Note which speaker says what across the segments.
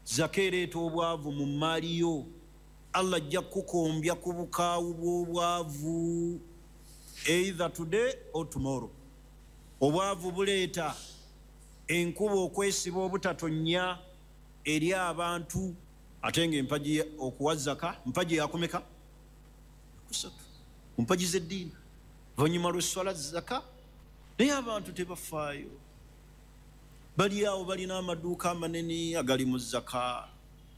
Speaker 1: Zaka ereeta obwavu mu mmaali yo. Allah ajja kukukombya ku bukaawu bw'obwavu, either today or tomorrow. Obwavu buleeta enkuba okwesiba obutatonnya eri abantu. Ate nga empagi, okuwa zaka mpagi yakumeka? Kusatu mu mpagi z'eddiini, oluvannyuma lw'esswala, zaka. Naye abantu tebafaayo, bali awo balina amaduuka amanene agali mu zaka,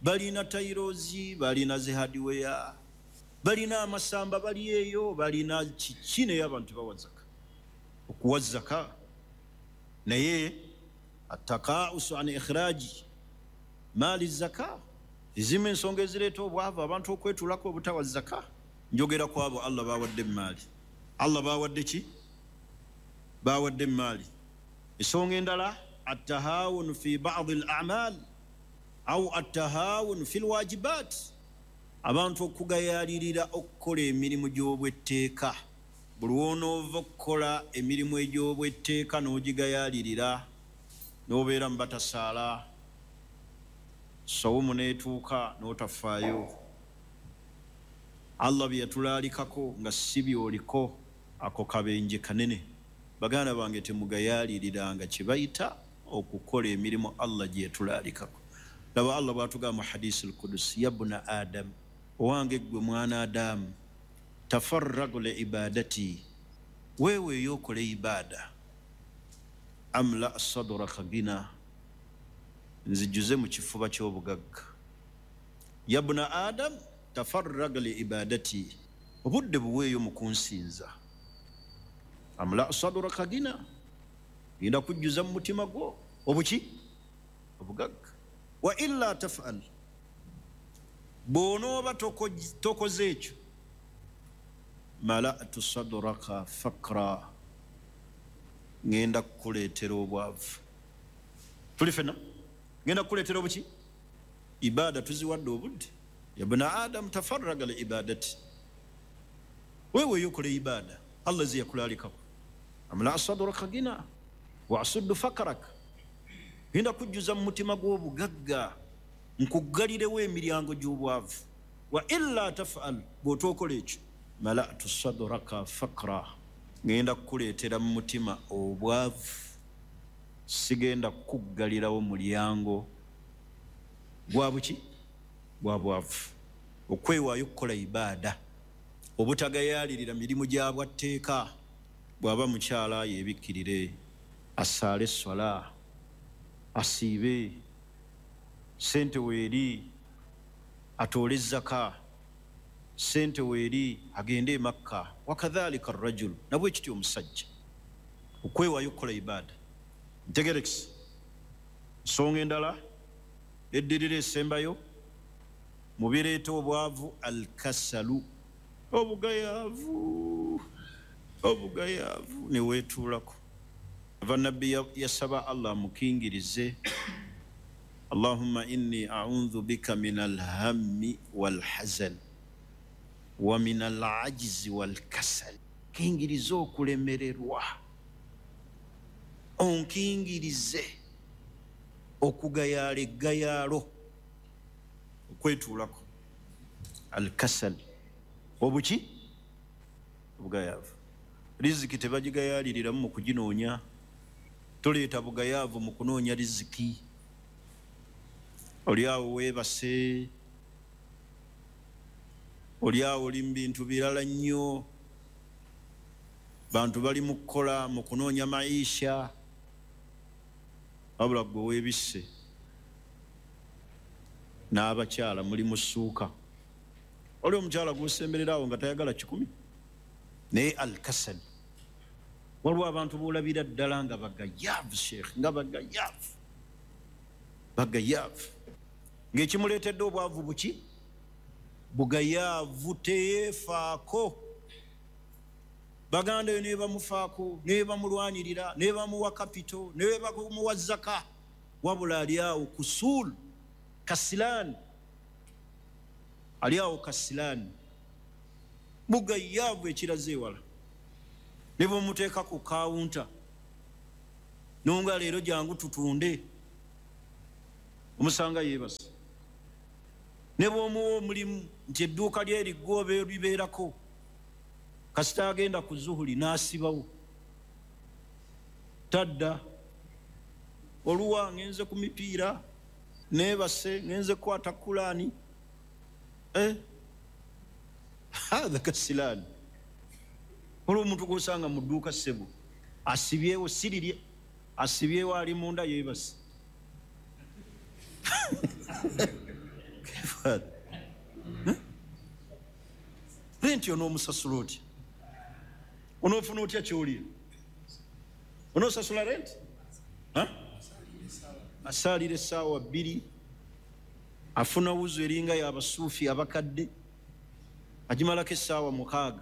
Speaker 1: balina tiles, balina zi hardware, balina amasamba, bali eyo balina kiki, naye abantu tebawa zaka. Okuwa zaka naye attakausu an ikhraji maali zaka, ezimu ensonga ezireeta obwavu, abantu okwetulako obutawa zaka. Njogera ku abo Allah bawadde emaali. Allah bawadde ki? Bawadde emaali. Ensonga endala, attahawunu fi badi al amal au attahawunu fi lwajibat, abantu okugayalirira okukola emirimu gy'obwetteeka. Buli wonoova okukola emirimu egy'obwetteeka n'ogigayalirira, n'obeera mu batasaala, sawumu n'etuuka n'otafaayo, Allah bye yatulaalikako nga si byoliko, ako kabenje kanene. Baganda bange, temugayaliriranga kye bayita okukola emirimu Allah gye yatulaalikako. Laba Allah bw'atugamba mu hadisi al-kudusi: "Yabuna Adam, owange ggwe mwana Adamu, tafarragu li ibadati, weeweeyo okole ibaada, amla sadraka gina, nzijuze mu kifuba ky'obugagga. Yabuna Adam, tafarraga li ibadati, obudde buweeyo mu kunsinza, amla sadraka gina, genda kujjuza mu mutima gwo obuki? Obugagga. Wa illa tafal, bw'onooba tokoze ekyo, malatu sadraka fakra, ngenda kukuleetera obwavu." Tuli fenna, ngenda kukuleetera obuki? Ibaada tuziwadde obudde? Yabuna Adamu, tafarraga li ibadati, weeweeyo okola ibaada Allah ze yakulaalikako, amla sadraka gina wa asuddu fakaraka, ngenda kujjuza mu mutima gw'obugagga, nkuggalirewo emiryango gy'obwavu. Wa illa tafal, bw'otookola ekyo, malatu sadraka fakra, ngenda kukuleetera mu mutima obwavu, sigenda kukuggalirawo mulyango gwa buki? Gwa bwavu. Okwewaayo okukola ibaada, obutagayaalirira mirimu gya bwatteeka. Bw'aba mukyala yeebikkirire, asaale esswala, asiibe, sente weeri atoole zaka, sente weeri agende e Makka. Wakadhalika rajulu, nabwe kityo omusajja, okwewaayo okukola ibaada. Ntegerekisi. Nsonga endala eddirira esembayo mu bireeta obwavu, alkasalu, obugayaavu, obugayaavu neweetuulako. Ava Nabbi yasaba Allah amukingirize: "Allahumma inni audhu bika min alhammi walhazan wa min alajizi walkasal." Kingirize okulemererwa, onkingirize okugayaala eggayaalo, okwetuulako, alkasal, obuki? Obugayaavu. Riziki tebagigayaaliriramu mu kuginoonya. Toleeta bugayaavu mu kunoonya riziki. Oli awo weebase, oli awo oli mu bintu birala nnyo, bantu bali mu kukola, mu kunoonya maisha, wabula gwe weebisse n'abakyala muli mu ssuuka. Oli omukyala gwosemberera awo nga tayagala 100, naye alkasal. Waliwo abantu boolabira ddala nga bagayaavu, sheekh, nga bagayaavu, bagayaavu, ng'ekimuleetedde obwavu buki? Bugayaavu. Teyeefaako. Baganda yo nebamufaako, nebamulwanirira, nebamuwa capital, nebamuwa zaka, wabula ali awo kusul, kasilaani, ali awo kasilaani, bugayaavu ekiraze ewala. Ne bwemuteeka ku kawunta nonga leero jangu tutunde, omusanga yeebase. Ne bw'omuwa omulimu nti edduuka lyeriggwa oba libeerako, kasita agenda ku zuhuli n'asibawo, tadda. Oluwa ngenze ku mipiira, neebase, ngenze kukwata kulaani. Hatha kasilaani. Olwo omuntu gw'osanga mu dduuka ssebo asibyewo, sirirye asibyewo, ali munda yeebase. Renti onoomusasula otya? Onoofuna otya kyolya? Onoosasula renti? Asaalira essaawa 2, afuna wuzu eringa y'abasuufi abakadde, agimalako essaawa 6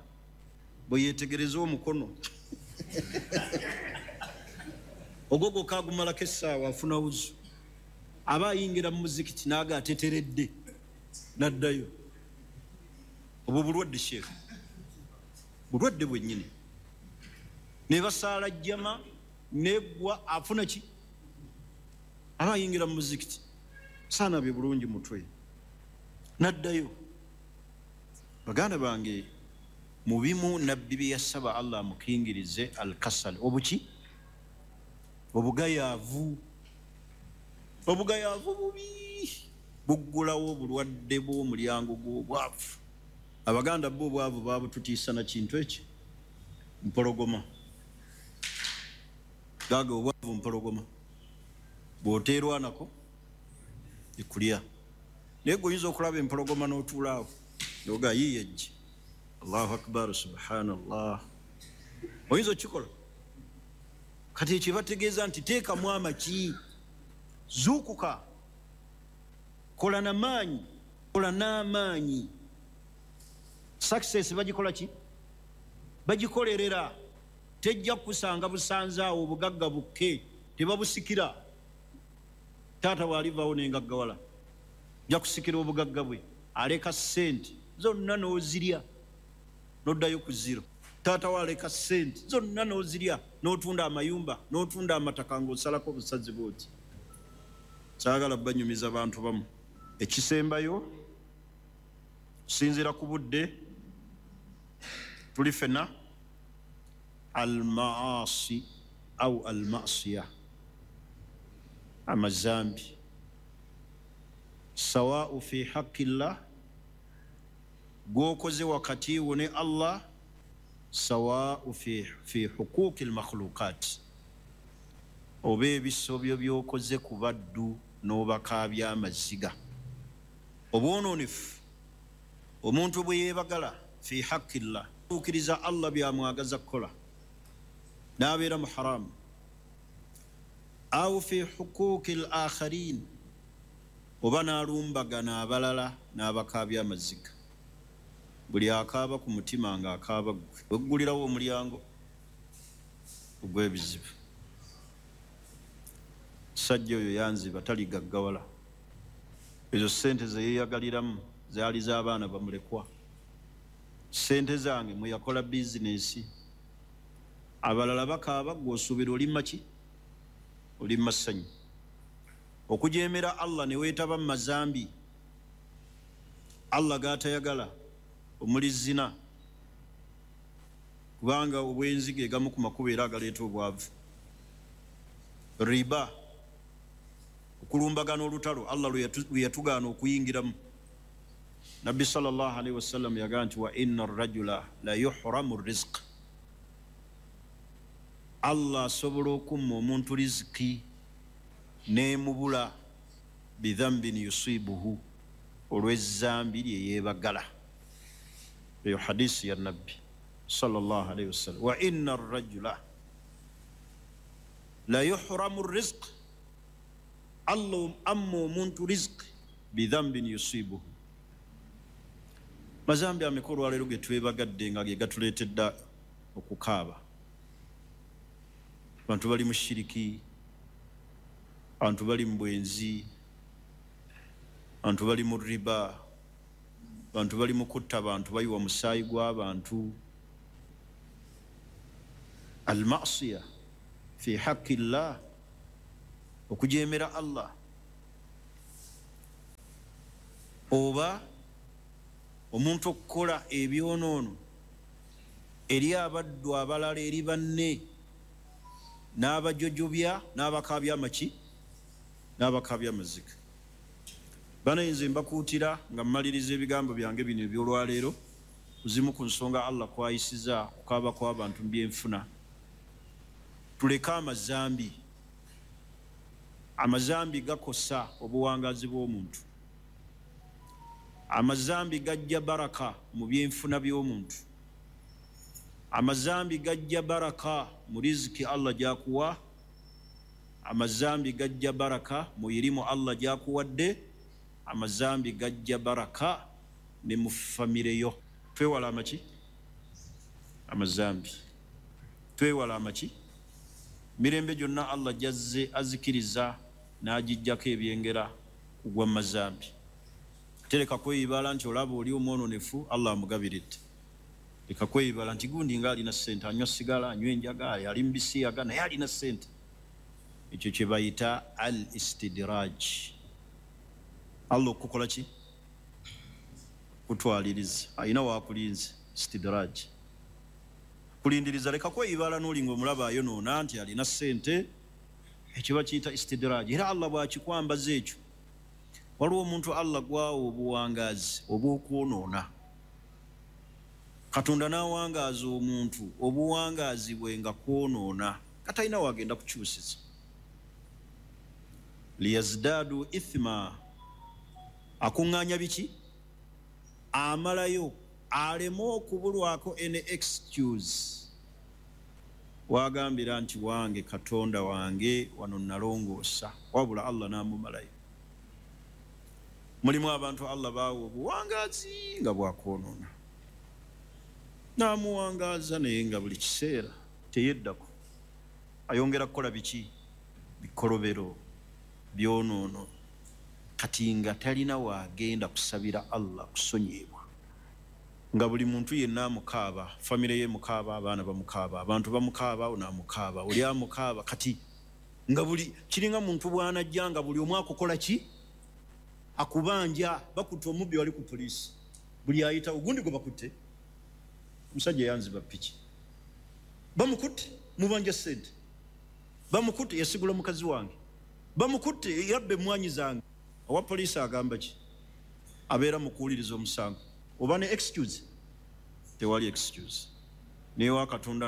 Speaker 1: bwe yeetegereza omukono ogwo gwokka agumalako essaawa, afuna wuzu, aba ayingira mu muzikiti n'aga ateteredde n'addayo. Obwo bulwadde sheekh, bulwadde bwennyini. Ne basaala jjama neggwa, afuna ki? Aba ayingira mu muzikiti saana bye bulungi mutwe n'addayo. Baganda bange, mu bimu nabbi bye yasaba Allah amukingirize alkasal, obuki? Obugayaavu. Obugayaavu bubi, buggulawo obulwadde bw'omulyango gw'obwavu. Abaganda bo obwavu babututiisa na kintu ekyo mpologoma. Gaga obwavu mpologoma, bw'oteerwanako ekulya. Naye gwe oyinza okulaba empologoma n'otuulaawo noga yiiye ejje, Allahu akbar, subhanallah, oyinza okukikola. Kati ekyo bategeeza nti teekamu amaki, zuukuka, kola namaanyi, kola n'amaanyi. Success bagikola ki? Bagikolerera. Tejja kukusanga busanze awo, obugagga bukke tebabusikira. Taata bw'alivaawo nengaggawala nja kusikira obugagga bwe, aleka ssente zonna n'ozirya n'oddayo ku zero. Taata we aleka ssente zonna n'ozirya n'otunda amayumba n'otunda amataka ng'osalako obusazi bw'oti. Saagala banyumiza bantu bamu. Ekisembayo, kusinziira ku budde tuli ffenna, almaasi au almasiya, amazambi, sawau fi haqi llah, gw'okoze wakati wo ne Allah, sawau fi huquqi lmakhluqat, oba ebisobyo by'okoze ku baddu n'obakaabya amaziga. Obwonoonefu omuntu bwe yeebagala fi haqi llah, tuukiriza Allah byamwagaza kukola n'abeera mu haramu, au fi huquqi l akharin, oba n'alumbagana abalala n'abakaabya amaziga. Buli akaaba ku mutima ng'akaaba ggwe, weggulirawo omulyango ogw'ebizibu. Sajja oyo yanziba taligaggawala, ezo ssente ze yeeyagaliramu zaali z'abaana bamulekwa, ssente zange mwe yakola bizinesi. Abalala bakaaba, ggwe osuubira olimma ki? Olimma ssanyu. Okujeemera Allah ne weetaba mu mazambi Allah g'atayagala, omuli zina, kubanga obwenzi ge gamu ku makubo era agaleeta obwavu. Riba, okulumbagana olutalo Allah lwe yatugaana okuyingiramu. Nabbi sallallahu alaihi wasallam yagamba nti wa inna rajula la yuhramu rizq, Allah asobola okumma omuntu riziki n'emubula bidhambin yusibuhu, olw'ezzambi lye yeebagala. Eyo hadisi ya Nabbi sallallahu alaihi wasallam. Wa inna rajula la yuhramu rizq, Allah amma omuntu riziki bidhambin yusibuhu. Mazambi ameka olwaleero ge twebagadde nga ge gatuleetedde okukaaba? Abantu bali mu shiriki, abantu bali mu bwenzi, abantu bali mu riba, abantu bali mu kutta abantu, bayiwa musaayi gw'abantu. Almasiya fi haqi llah, okujeemera Allah. Oba omuntu okukola ebyonoono eri abaddu abalala, eri banne, n'abajojobya, n'abakaabya amaki, n'abakaabya amaziga. Banayinza mbakuutira nga mmaliriza ebigambo byange bino ebyolwaleero kuzimu ku nsonga Allah kwayisiza kukaaba kw'abantu mu byenfuna. Tuleke amazambi. Amazambi gakosa obuwangaazi bw'omuntu. Amazambi gajja baraka mu byenfuna by'omuntu. Amazambi gajja baraka mu riziki Allah gyakuwa. Amazambi gajja baraka mu irimu Allah gyakuwadde. Amazambi gajja baraka ne mu famire yo. Twewala amaki? Amazambi. Twewala amaki? Mirembe gyonna Allah gyazze azikiriza n'agijjako ebyengera kugwa mu mazambi. Tereka kweyibala nti olaba oli omwononefu, Allah amugabiridde. Leka kweyibala nti gundi nga alina ssente, anywa sigala, anywa enjaga, ali mu bisiyaga, naye alina ssente. Ekyo kye bayita al istidraj. Allah okukola ki? Kutwaliriza. Alina wakulinze. Istidraj, kulindiriza. Leka kweyibala n'oli nga omulaba ayonoona nti alina ssente. Ekyo bakiyita istidraj, era Allah bw'akikwambaza ekyo. Waliwo omuntu Allah gwawa obuwangaazi obw'okwonoona. Katonda n'awangaaza omuntu obuwangaazi bwe nga kwonoona, katalina wagenda kukyusiza. Liyazdaadu ithma, akuŋŋaanya biki? Amalayo aleme okubulwako any excuse wagambira nti wange Katonda wange wano nalongoosa, wabula Allah n'amumalayo. Mulimu abantu Allah baawa obuwangaazi nga bwakwonoona, n'amuwangaaza, naye nga buli kiseera teyeddako, ayongera kukola biki? Bikolobero, byonoono. Kati nga talina waagenda kusabira Allah kusonyiibwa, nga buli muntu yenna amukaaba, famire ye mukaaba, abaana bamukaaba, abantu bamukaaba, ono amukaaba, oli amukaaba. Kati nga buli kiringa muntu bw'anajja nga buli omu akukola ki? Akubanja. Bakutte omubbi wali ku poliisi, buli ayita ogundi gwe bakutte, omusajja yanziba piki, bamukutte, mubanja sente, bamukutte, yasigula mukazi wange, bamukutte, yabba emwanyi zange. Owa poliisi agamba ki? Abeera mu kuwuliriza omusango, oba ne excuse? Tewali excuse newa Katonda.